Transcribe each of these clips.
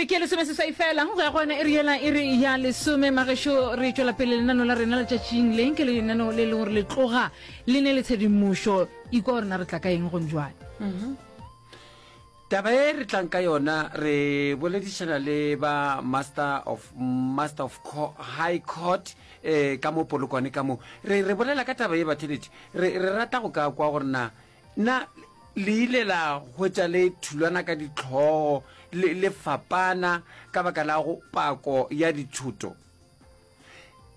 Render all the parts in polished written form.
Re ke lesomeseswai fela go ya gona iri yela iri ya lesome magešo re tšwela pele lenano la rena letšatšing le ke lenano le leng gore le tloga le ne le tshedimošo ikwa gore na re tla ka eng gong jwale. Taba e re tlang ka yona re boledišana le ba Master of Master of High Court eh, ka mo Polokwane ka mo re re bolela ka taba ye batheletši re re rata go ka kwa gore na Na le ile la hwetša le thulana ka dihlogo le, le fapana ka baka la go pako ya dithoto?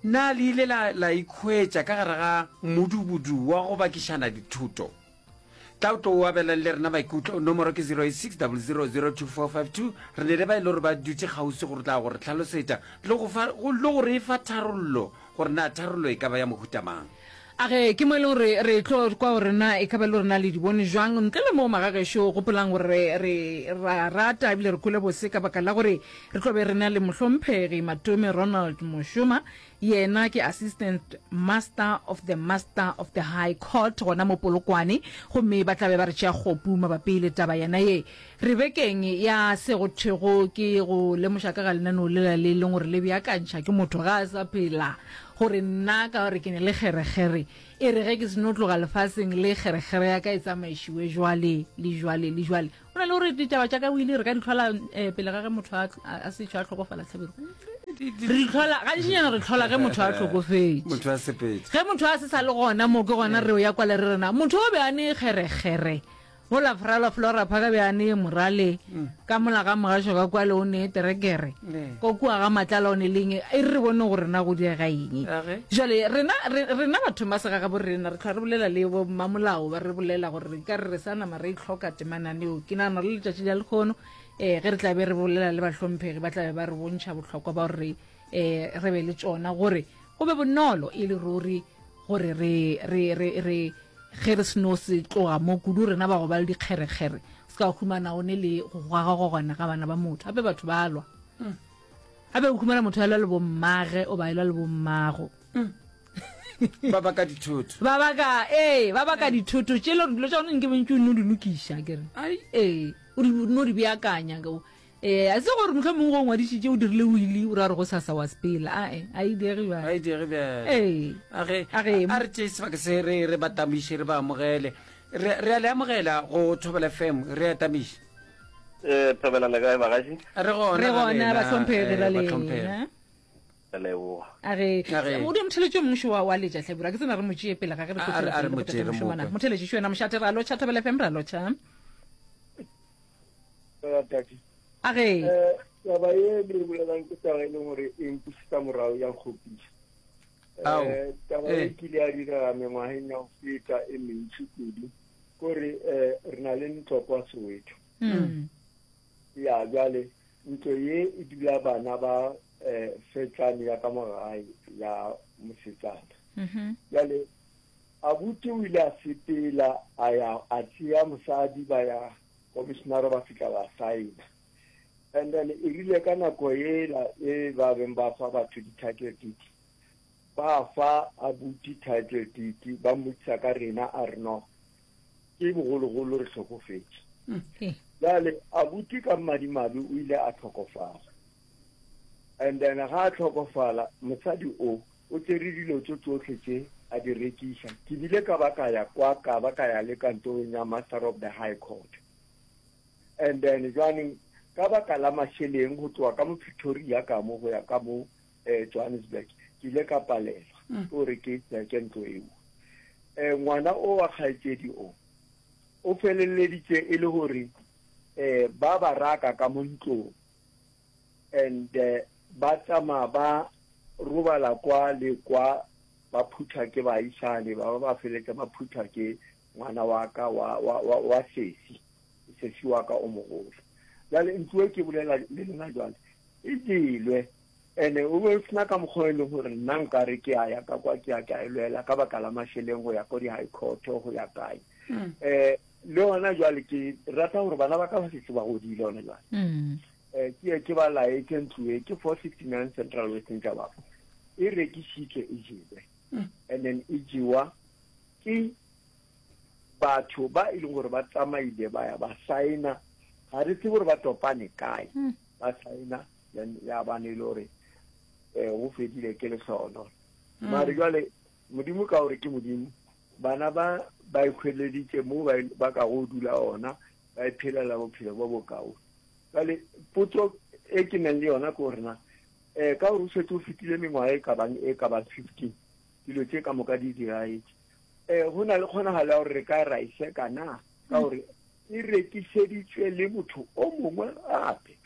Na le ile la, la ikhwetša ka gare ga modubudu wa go bakišana dithoto? Tla o tlo o abelane le rena maikutlo. Nomoro ke 086 00 02452. Re ne le ba e le gore ba dutše kgauswi go tla go re hlalosetša le go fa, le go re fa tharollo gore na tharollo e ka ba ya mohuta mang. A ge ke mo e leng gore re tlo kwa gore na e ka ba e le gore na le di bone jwang. Ntle le moo magagešo, gopolang gore re, re, ra rata ebile re kwele bose ka baka la gore re tlo be re na le Mohlomphegi Matome Ronald Moshoma, yena ke Assistant Master of the Master of the High Court gona mo Polokwane, gomme ba tla be ba re tšea kgopu mabapi le taba yena ye. Re bekeng ya se go thwego ke go lemoša ka ga lenaneo lela le leng gore le beakantšha ke motho ga a sa phela, gore nna ka gore ke ne le kgerekgere, e re ge ke seno tloga lefaseng le kgerekgere ya ka e tsamaišiwe jwale le jwale le jwale. Go na le gore ditaba tša ka o ile re ka di hlola um pele ga ge motho a, a setšo a hlokofala Hlabirwa. Re di hlola gantšinyana re hlola ge motho a hlokofetše. Motho a sepetše. Ge motho a se sa le gona mo ke gona re ya kwale re rena motho o be a ne kgerekgere. Mola Frala Flora Phaka be a nee morale, ka mola ga Mogašo ka kwale o nee terekere, ko kua ga Matlala o ne le eng, e re re bone gore na go diega eng. Jwale rena, re, rena bathong ba segagabo rena re hlwa re bolela le bo mmamolao ba re bolela gore re ka re re sa nama re itlhoka temananeo. Ke nagana le letšatši la lekgono um ge re tla be re bolela le bahlomphegi ba tla be ba re bontšha bohlokwa ba gore re um re be le tšona gore go be bonolo e le ruri gore re, re, re, re Ge re seno se tloga mo, kudu rena ba go ba le dikgerekgere, se ka humana o ne le go gwagagwagwana ga bana ba motho. Gape batho ba lwa. Gape o humana motho a lwa le bommage o ba elwa le bommago. Ba baka dithoto. Ba baka, ee, ba baka dithoto tše le gore dilo tša gona nke bontši o nno di lokiša, ke re. Ee, o di no di beakanya. Ee, a se gore mohlomongwe go ngwadišitše o dirile wili o ra gore go sasa wa sepela. Ae, a e diege bjale. A e diege bjale. Ee. A ge, A ge. a re tšee sebaka se re re ba tamiše re ba amogele. Re re a le amogela go Thobela FM, re a tamiša. Eh, Thobela le kae bagaši? Re gona Re ra gona lena, bahlomphegi eh, ra bahlomphegi. lena. Re leboga. A ge, A ge. o di motheletši o mongwe šo wa wa letša Hlabirwa, ke tsena re mo tšee pele ga ge re A- tlo a re- tšwela a re pele le mo tšee, botate re mo mošomana. kwe. Motheletši šo yena mošate ra lotšha Thobela FM ra lotšha. Tate. A ge. Eh, taba ye le bolelang ke taba e leng gore e nkušetša morago ya nkgopiša. Ao. Eh, taba e Eh. kile ya direga mengwageng ya go feta e mentši kudu kore eh, re na le ntlo kwa Soweto. Mm. Ya bjale ntlo ye e dula bana ba eh, fetsane ya ka mo gae ya mosetsana. Mhm. Bjale abuti o ile a sepela a ya a tšea mosadi ba ya Komisinara ba fihla ba saena. And then e rile ka nako yela e ba beng ba fa batho di-title deed, ba fa abuti title deed, ba mmotšiša ka rena, a re no, ke bogologolo re hlokofetše. Bjale abuti ka madimabe o ile a hlokofala. And then ga a hlokofala, mosadi o, o tšere dilo tše tšohle tše a di rekiša. Ke bile ka ba ka ya kwa, ka ba ka ya le kantorong ya Master of the High Court. And then jwaneng ka baka la mašeleng go tloga ka mo Pretoria ka mo go ya ka mo eh, Johannesburg, ke ile ka palelwa ke gore ke tseke ntlo eo. Eh, ngwana o wa kgaetšedi o, o feleleditše e le gore eh, ba ba raka ka mo ntlong. And ba tsamaya ba robala kwa le kwa, ba phuthwa ke baagišane, ba ba ba feletša ba phuthwa ke ngwana wa ka wa, wa, wa, wa sesi, sesi wa ka o mogolo. Bjale ntlo e ke bolela le lena jwale e jelwe, ene o be o sena ka mokgwa e leng gore nna nkare ke a ya ka kwa ke ya ke a e lwela ka baka la mašeleng go ya ko di-high court go ya kae. Um le gona jwale ke rata gore bana ba ka ba setse ba godile gona jwale. Um ke ye ke ba laetše ntlo e ke 469 Central Western Jabapo e rekišitšwe e jelwe and then e jewa ke batho ba e leng gore ba tsamaile ba ya ba saena ga re tsebe gore ba topane kae. Ba saena then ya bane e le gore um go fedile ke lehlono. Mare jwale Modimo ka gore ke Modimo, bana ba ba ikhweleditše mo ba, ba ka go dula ona, ba iphelela bophelo bo bokaone. Jwale potso e ke nang le yona ke gore na um ka gore o šetše o fetile mengwaga e ka bang e ka bang 15 dilo tše ka moka di diragetše, um go na le kgonagalo ya gore re ka ra e seka na ka gore e rekišeditšwe le motho o mongwe gape?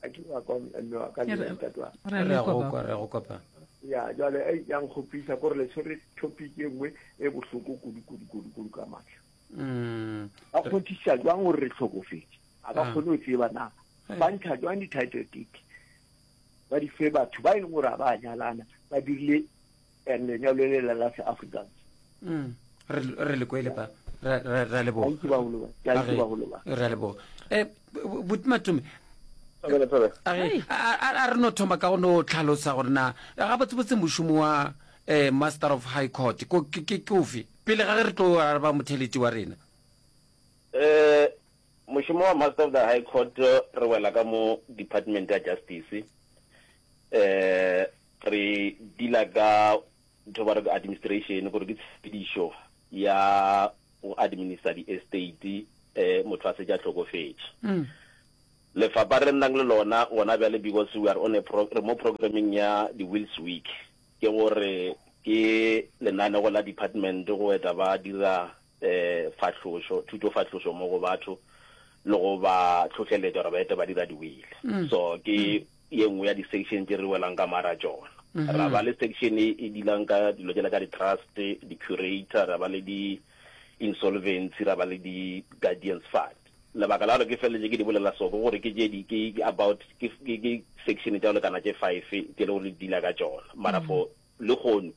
A ke wa kwa mme wa ka le ntate wa. Re a go kwa, re a go kwa pa. Ya jwale ei ya nkgopisa kore le tshwere topic e nngwe e bohloko kudu kudu kudu kudu ka matla. Mm. Ba kgonthiša jwang gore re hlokofetše? A ba Ah. kgone go tseba na ba ntšha jwang di-title deed ba di fe batho ba e leng gore ga ba nyalana ba dirile and lenyalo le la la se-Afrikaans. Mm. Re re le kwele pa. Re re re a leboga. Thank you bagolo ba. Thank you bagolo ba. Re a leboga. Eh Buti Matome. Thobela, thobela. A re a a re no thoma ka go no tlhalosa gore na gabotsebotse mošomo wa eh Master of High Court ko ke ke ke ofe pele ga ge re tlo araba motheletši wa rena. Eh mošomo wa Master of the High Court re wela ka mo Department ya Justice. Eh Re dealer ka ntho ba re ke administration, gore ke tshepedišo ya go administer di-estate eh motho a setse a hlokofetše. Lefapha re nnang le lona gona bjale because we are on a pro, re mo programming ya di-Wills Week, ke gore ke lenanego la department go eta ba dira eh fahlošo, thutofahlošo mo go batho le go ba hlohleletša gore ba ete ba dira di-will. So ke ye nngwe ya di-section tše re welang ka mara tšona. Ra ba le section e e dealang ka dilo tšela tša di-trust, di-curator, ra ba le di-insolvency, ra ba le di-guardians fund. Lebaka la gore ke feleletše ke di bolela so ke gore ke tše di ke about ke ke ke section tša go lekana tše five tše le gore di deala ka tšona. Mara for lehono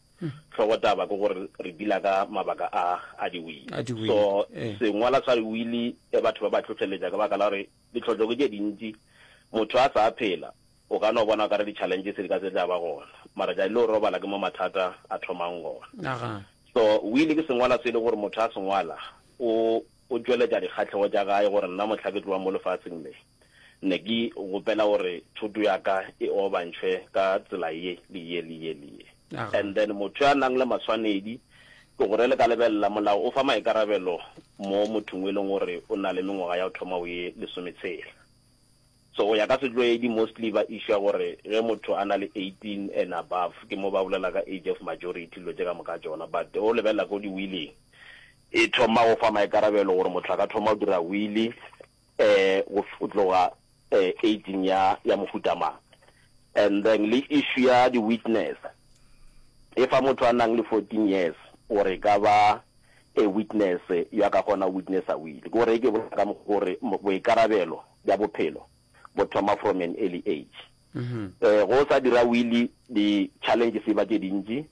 hlogotaba ke gore re deala ka mabaka a a di-will. A di-will, So ee. sengwala sa di-will batho ba ba hlohleletša ka baka la gore Ditlhohlo ke tše dintši. Motho a sa phela, o ka no bona o ka re di-challenges di ka se tla ba gona. Mara tšatši le o robala ke mo mathata a thomang gona. So will ke sengwala se e le gore motho a se ngwala, o o tšweletša dikgahlego tša gae gore nna mohla ke tloga mo lefaseng le, ne ke gopela gore thoto ya ka e obantšhwe ka tsela ye le ye le ye le ye. And then motho ya nang le maswanedi, ke gore le ka lebelela molao o fa maikarabelo mo mothong o e leng gore o na le mengwaga ya go thoma go ye lesometshela. So go ya ka setlwaedi mostly ba issue gore ge motho a na le 18 and above ke mo ba bolela ka age of majority dilo tše ka moka tšona. But o lebelela ko di-willing e thoma go fa maikarabelo gore motho a ka thoma go dira will eh go tloga eh aging ya ya mohuta mang. And then le issue ya di witness e fa motho a nang le 14 years gore e ka ba a witness yo a ka kgona go witnessa will. Ke gore e ke bolela ka mokgwa gore boikarabelo bja bophelo bo thoma from an early age. Eh go sa dira will di challenges e ba tše dintši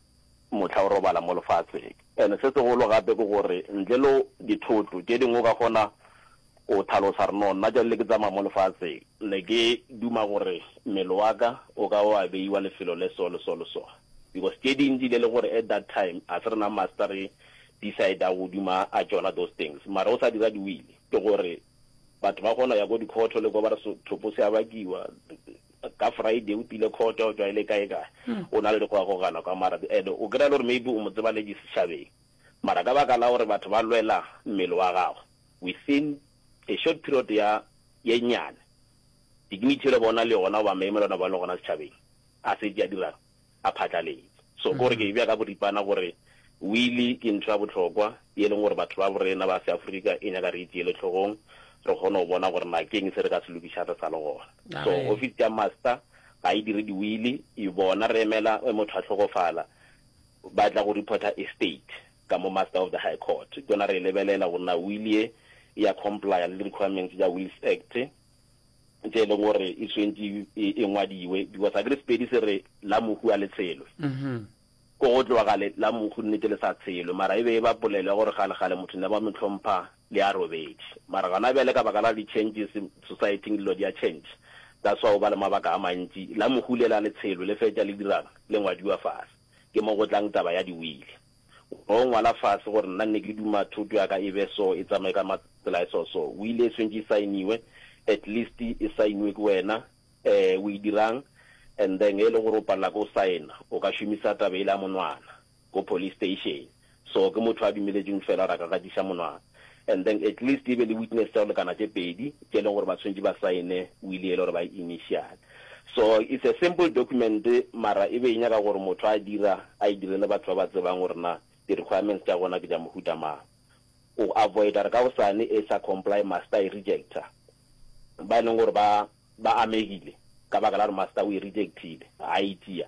mohla o robala mo lefatsheng. And se segolo gape ke gore ntle le dithoto tše dingwe o ka kgona O hlalosa re, No, nna tšatši le ke tsamaya mo lefaseng, ne ke duma gore mmele wa ka o ka wa beiwa lefelo le so le so le so. Because tše dintši le le gore at that time a se rena master re decide-a go duma a tšona those things. Mara o sa dira di-will, ke gore batho ba kgona go ya ko di-court le ko ba re thopo se a bakiwa, ka Friday o tile court o tšwa e le kae kae, o na le dikgogakgogano ka mara and o kry-a le gore maybe o mo tseba le setšhabeng. Mara ka baka la gore batho ba lwela mmele wa gago, within a short period ya ye nnyane, dignity yela ba o na le yona goba maemo yela ba le gona setšhabeng a setše a dirang? A phatlaletše. So ke gore ke e bea ka boripana gore wili ke ntho ya bohlokwa ye leng gore batho ba borena ba seAfrika e nyaka re e tšeele hlogong re kgone go bona gore na ke eng se re ka se lokišang re sa le gona. So office ya master ga e dire diwili, e bona re emela ge motho a hlokofala ba tla go reporter estate ka mo Master of the High Court. Ke yona re e lebelela gore na will ye e ya complya le di-requirements tša Wills Act tše e leng gore e swentše e, e ngwadiwe because akere Sepedi se re la mohu a le tshelwe. Ko go tloga gale la mohu nnete le sa tshelwe mara e be e ba polelo ya gore kgale-kgale motho ne ba mo hlompha le a robetše. Mara gona bjale ka baka la di-changes society-ing dilo di a change that's why o ba le mabaka a mantši la mohu le la le tshelwe le fetša le dirang le ngwadiwa fase. Ke mo go tlang taba ya di-will. O ngwala fase gore nna nne ke duma thoto ya ka e be so, e tsamaye ka tsela e so so. Will e swantše e saeniwe, at least e saeniwe ke wena. um o e dirang and then ge e le gore o palela ke go saena o ka šomisa taba yela ya monwana ko police station. So ke motho a dumeletšweng fela gore a ka gatiša monwana and then at least e be le witness tša go lekana tše pedi tše e leng gore ba tshwanetše ba saene will yela gore ba e initiale. So it's a simple document mara e be e nyaka gore motho a dira a e direle batho ba ba tsebang gore na di requirements tša gona ke tša mohuta mang. Go avoida gore ka gosane e sa comply master a e rejecta ba e leng gore ba ba amegile ka baka la gore master o e rejectile ga e tšea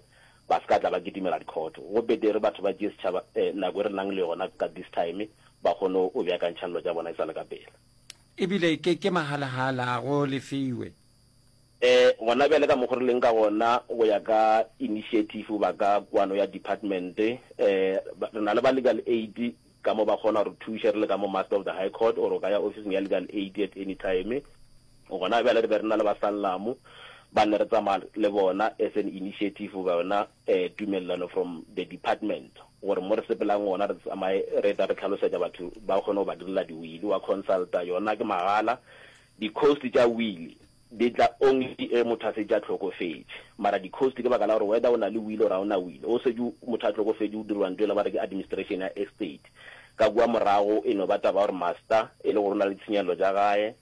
ba se ka tla ba kitimela dikhoto. Go betere batho ba tšee setšhaba nako e re nang le yona ka this time ba kgone go beakantšha dilo tša bona e sa le ka pela. Ebile ke ke mahalahala a go lefiwe. Eh gona bjale ka mokgo re leng ka gona go ya ka initiative goba ka kwano ya department eh re na le ba legal aid ka mo ba kgona go re thuša re le ka mo Master of the High Court or o ka ya ofising ya legal aid at any time. Gona bjale re be re na le ba Sanlam ba ne re tsamaya le bona as an initiative goba yona tumelelano from the department gore mo re sepelang gona re tsamaye re eta re hlalosetša batho ba kgone go ba direla di-will wa consulta yona ke magala di-cost tša will Di tla only ge motho a setše a hlokofetše. Mara di cost ke baka la gore whether o na le will or ga o na will, o setše motho a hlokofetše o dirwa ntho ela ba re ke administration ya estate. Ka kua morago e no ba taba ya gore master e le gore o na le ditshenyegelo tša gae,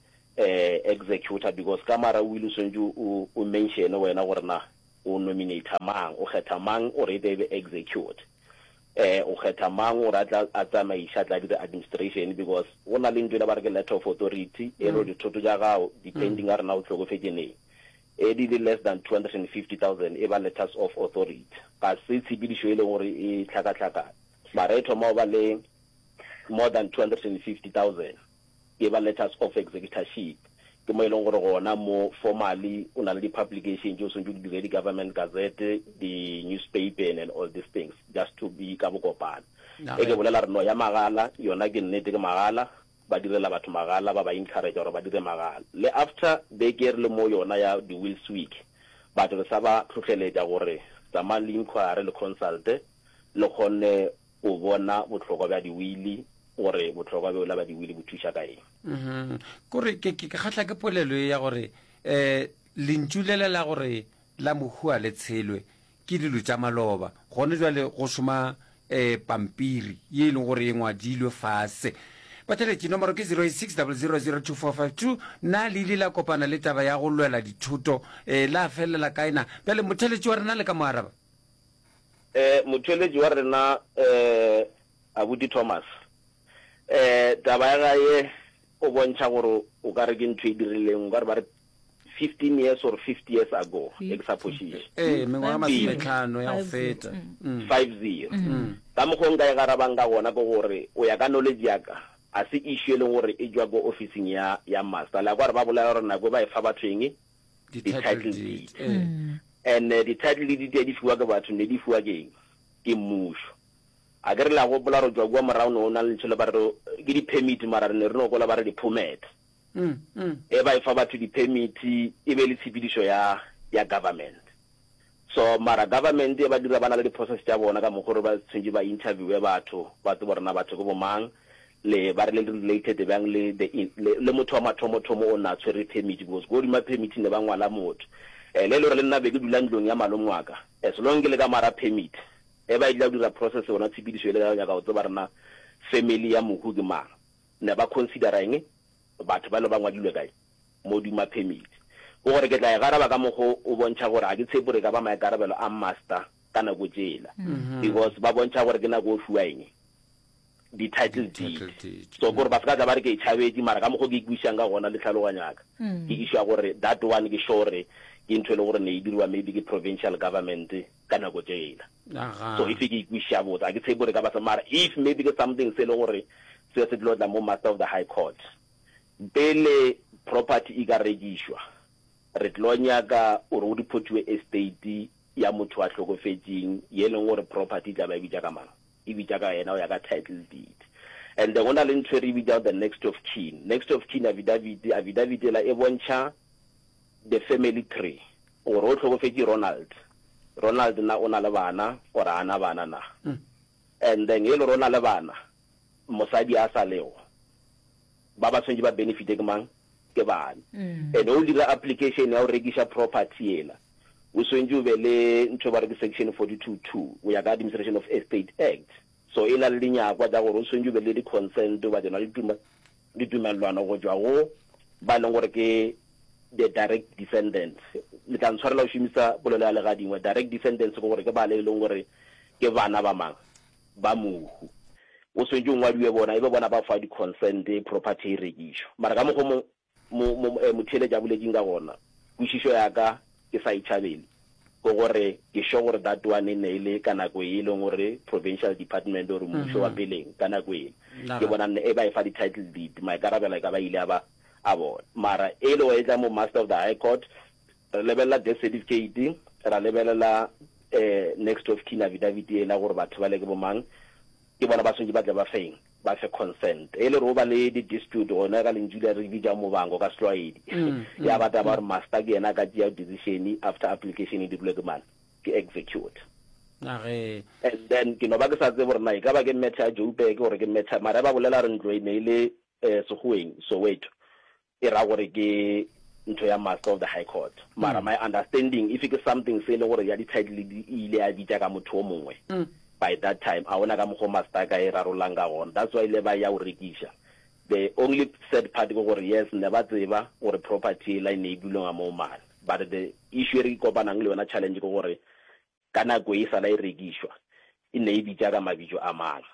executor because ka mara will o swanetše o o mention wena gore na o nominator mang, o kgetha mang gore e tle e be execute. Eh, o kgetha mang gore a tla a tsamaiše, a tla dire administration because go na le ntho e le ba re ke letter of authority e re dithoto tša gago depending a rena o hlokofetše neng e di le less than 250,000 e ba letters of authority. Ga se tshepedišo e leng gore e hlakahlakane mara e thoma go ba le more than 250,000. Ke ba letters of executorship. Ke mo e leng gore gona mo formally o na le di-publication tše o swanetše o di dire, di-government gazette, di-newspaper and all these things just to be ka bokopana. E ke bolela re no ya magala, yona ke nnete ke magala, ba direla batho magala, ba ba encourage gore ba dire magala. Le after beke e re le mo yona ya di-wills week, batho re sa ba hlohleletša gore tsamayang le inquire le consulte le kgone go bona bohlokwa bja diwili, gore bohlokwa bjola bja diwili bo thuša ka eng. Mhm. Kore ke ke kgahla ke polelo ye ya gore eh lentšu lela la gore la mohu a le tshelwe ke dilo tša maloba. Gone jwale go šoma eh pampiri ye e leng gore e ngwadilwe fase. Batheletši, nomoro ke 0860002452. Na le ile la kopana le taba ya go lwela dithoto eh la felela kae na? Bjale motheletši wa rena le ka mo araba? Eh, motheeletši wa rena, eh, Abuti Thomas, eh, taba ya gae o bontšha gore o ka re ke ntho e dirileng, o ka re ba re 15 years or 50 years ago, e ke sa phošiše. Ee, mengwaga masometlhano ya go feta. Mm. 50. Ka mokgwa o nka e garabang ka gona ke gore, o ya ka knowledge ya ka, a se issue e leng gore e tšwa ko ofising ya, ya master. Le a kwa gore ba bolela gore nako e ba e fa batho eng? Di-title deed. And di-title deed tše di fiwa ke batho, ne di fiwa ke eng? Ke mmušo. A ke re le a gopola gore tšwa kua morago ne go na le ntho le ba re ke di-permit mara re ne re no kwela ba re di-permit. E ba e fa batho di-permit e be le tshepedišo ya ya government. So mara government e ba dira ba na le di-process tša bona ka mokgwa gore ba tshwanetse ba interviewe batho ba tsebe gore na batho ke bo mang le ba re le related bjang le the le, le motho wa mathomo-thomo o na tshwere permit because ko godima permit ne ba ngwala motho. Eh le e le gore le nna be ke dula ntlong ya malome wa ka as long ke le ka mara permit e ba etla go dira process yona tshepedišo e le ya go nyaka go tseba rena family ya mohu ke mang ne ba considera eng batho ba le ba ngwadilwe kae mo duma permit ke gore ke tla e garaba ka mokgo o bontšha gore ga ke tshepe gore e ka ba maikarabelo a master ka nako tšela because ba bontšha gore ke nako o fiwa eng di-title deed so kore ba se ka tla ba re ke e tšhabetše mara ka mokgo ke e kwešišang ka gona le tlhaloganyo ya ka ke išwa gore that one ke sure ke ntho e le gore ne e diriwa maybe ke provincial government ka nako tšela so if ke e kwešiša botse ga ke tshepe gore e ka ba se mara if maybe ke something se e le gore se se tlo tla mo master of the high court pele property e ka rekišwa re tlo nyaka gore go reportiwe estate ya motho a hlokofetšeng ye e leng gore property e tla ba e bitša ka mang e bitša ka yena go ya ka title deed. And then go na le ntho e re e bitšago the next of kin. Next of kin affidavit, affidavit ela e bontšha the family tree gore o hlokofetše Ronald, Ronald na o na le bana or ga a na bana na. And then e le gore o na le bana, mosadi a sa lego, ba ba swanetše ba benefite ke mang? ke bane. And o dira application ya go rekiša property yela, o swantše o be le ntho ba re ke section 42 2 go ya ka Administration of Estate Act. So e na le dinyakwa tša gore o swantše o be le di-consent goba tšona ditumelelwano go tšwa go ba e leng gore ke the direct descendants. Le tla ntshwarela go šomisa polelo ya legadingwe. Direct descendants ke gore ke bale e leng gore ke bana ba mang? Ba mohu. O swantše o ngwadiwe bona, e be bona ba fa di-consent property e rekišwa. Mara ka mokgwa o mo, mo, mo, motheeletši a boletšeng ka gona, kwešišo ya ka ke sa e tšhabele, ke gore ke sure gore that one e ne e le ka nako e leng gore provincial department or mmušo wa peleng ka nako ele, ke bona e ba e fa di-title deed, maikarabelo e ka ba ile a ba a bona. Mara e le gore e tla mo Master of the High Court, re lebelela death certificate, ra lebelela next of kin affidavit ela gore batho bale ke bo mang, ke bona ba swanetše ba tle ba feng, ba fe consent. E le gore o ba le di dispute gona ka lentšu le re bitšang mobango ka setlwaedi, ya ba taba gore master ke yena a ka tšea decision after application e dirilwe ke mang, ke execute. Age. And then ke no ba ke sa tsebe gore na e ka ba ke matter ya Joburg gore ke matter, mara ba bolela gore ntlo e ne e le Sekgoweng, Soweto. E ra gore ke ntho ya Master of the High Court. Mara my understanding if ke something se e le gore ya di title di e ile ya bitša ka motho o mongwe by that time, a gona ka mokgo Master a ka e rarollang ka gona. That's why ile ba ya go rekiša. The only sad part ke gore yes ne ba tseba gore property ela e ne e belonga mo mane but the issue e re kopanang le yona challenge ke gore ka nako e sala e rekišwa e ne e bitša ka mabitso a mang.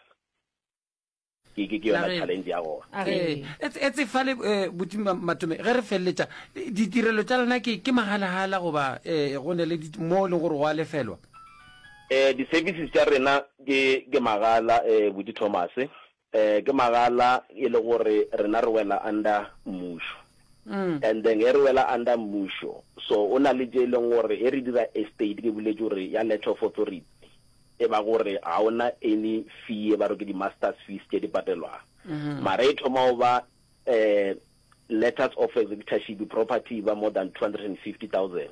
Ke, ke, ke yona challenge ya gona. Ee, etse fale eh, buti Matome, ge re feleletša, ditirelo tša lena ke, ke mahala-hala goba eh, go ne le mo e leng gore go a lefelwa? Eh, di-services tša rena ke, ke magala eh, buti Thomas. Eh, ke magala e le gore rena re wela under mmušo. Mm. And then ge re wela under mmušo, so o na le tše e leng gore ge re dira estate, ke boletše gore ya letter of authority, e ba gore ga o na any fee e ba re ke di-masters fees tše di patelwang. Mara e thoma go ba um letters of executorship property e ba more than 250,000.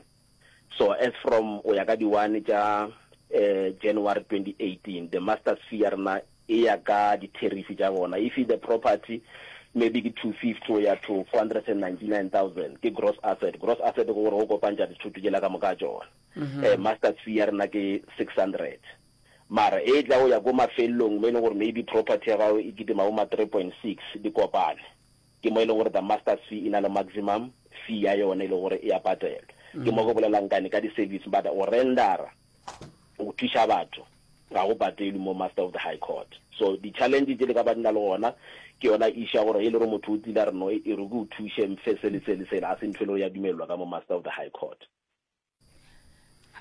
So as from o ya ka di-one tša um January 2018, the masters fee ya rena e ya ka di-tariff tša bona. If the property maybe ke 250 go ya to 499,000 ke gross asset. Gross asset ke gore go kopantša dithoto tšela ka moka tšona. Eh, master's fee ya rena ke 600. Mara e tla go ya ko mafelelong mo e leng gore maybe property ya gago e kitima bo ma 3.6 di kopane. Ke mo e leng gore the master's fee e na le maximum fee ya yona e leng gore e a patelwa. Ke mo ke bolelang kane ka di-service but go rendera go thuša batho ga go patelwe mo Master of the High Court. So di-challenge tše le ka ba di na le gona ke yona issue ya gore e le gore motho o tlile a re no e re ke o thuše mfe se le se le sela, ga se ntho e le gore ya dumelelwa ka mo Master of the High Court.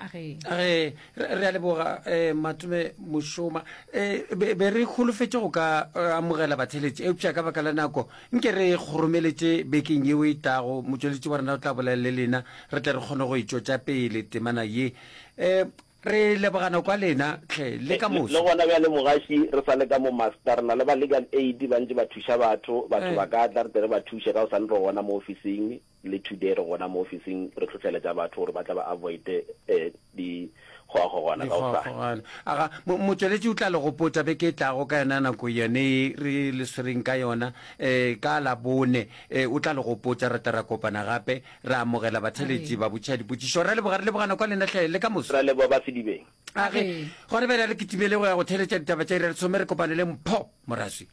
Age. Age, re a leboga eh, Matome Mošoma. Eh, be, be re holofetše go ka eh, amogela batheletši, eupša ka baka la nako nke re kgoromeletše bekeng yeo e tlago. Motšweletši wa rena o tla bolela le lena, re tle re kgone go e tšwetša pele temana ye. Eh, re lebogana kwa lena hle le ka moso. Le gona bjale mogaši re sa le ka mo master, re na le ba legal aid ba ntše ba thuša batho, batho ba ka tla re tle re ba thuše ka gosane re gona mo ofising. Le today re gona mo ofising re hlohleletša batho gore ba tla ba avoide dikgogakgogwana ka gosane. Dikgogakgogwana. Aga, mo, motšweletši o tla le gopotša beke e tlago ka yona nako yone ye re le swereng ka yona, eh, ka Labone. Eh, o tla le gopotša, re tla ra kopana gape, ra amogela batheeletši ba botšiša dipotšišo. Ra leboga, re lebogana kwa lena hle, le ka moso. Ra leboga ba Sedibeng. Age, gona bjale a re kitimele go ya go theeletša ditaba tša iri ya lesome, re kopane le Mpho Moraswi.